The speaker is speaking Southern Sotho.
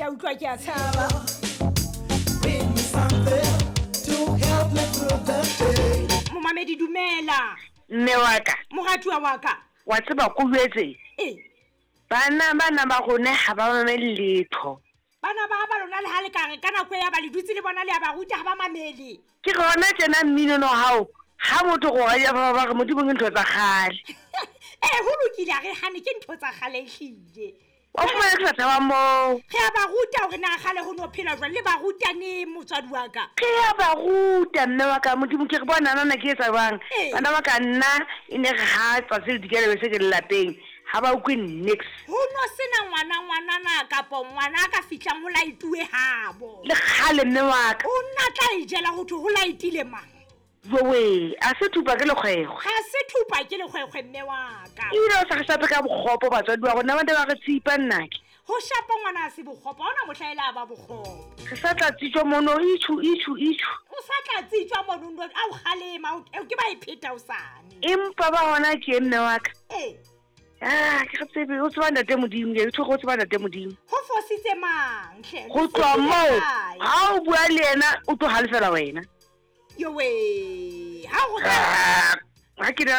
Ke a utlwa, ke a tshaba. Bring me something to help me through the day. Momamedi, dumela. Mme wa ka. Moratuwa wa ka. Wa tseba ko jwetse. Ee. Bana bana ba rona ha ba mamele letho. Bana ba ba lona le ha le ka re ka nako ya ba le dutse le bona le ya ba ruta, ha ba mamele. Ke gona tjena mmino no hao ha motho go ga ba ba re Modimo ke ntho tsa kgale. Ee, ho lokile, a re hane ke ntho tsa kgale ehlile. Wa fumana ke sa tshaba moo. Re a ba ruta hore na kgale ho no phela jwang, le ba ruta neng, motswadi wa ka? Re a ba ruta, mme wa ka. Modimo ke re bona nana ke etsa jwang. Ee. Bana ba ka nna e ne re ha tsatsi le dikela be se ke le lapeng, ha ba utlwe nix. Ho no sena ngwana ngwanana kapo ngwana a ka fihlang ho laetuwe habo. Le kgale, mme wa ka. O nna tla e jela ho thwe ho laetile mang? Jowe, a se thupa ke lekgwekgwe. Ga se thupa ke lekgwekgwe, mme wa ka. Ebile o sa re shape ka bokgopo batswadi ba rona, ba ne ba re tshipa nnake. Ho shapa ngwana a se bokgopo, ha hona mohla e la ba bokgopo. Re sa tla tsitswa mono, itjhu, itjhu, itjhu. O sa tla tsitswa mono, no, a o kgalema, o ke ba e pheta hosane. Empa ba hona ke mme wa ka. Ee. Ah, ke re tsebe, o tseba ntate Modimo, ke tshwere o tseba ntate Modimo. Ho fositse mang hle? Ho tloha moo, ha o bua le yena, o tlo halefela wena. Yowe, ha ho Ah, ha ke na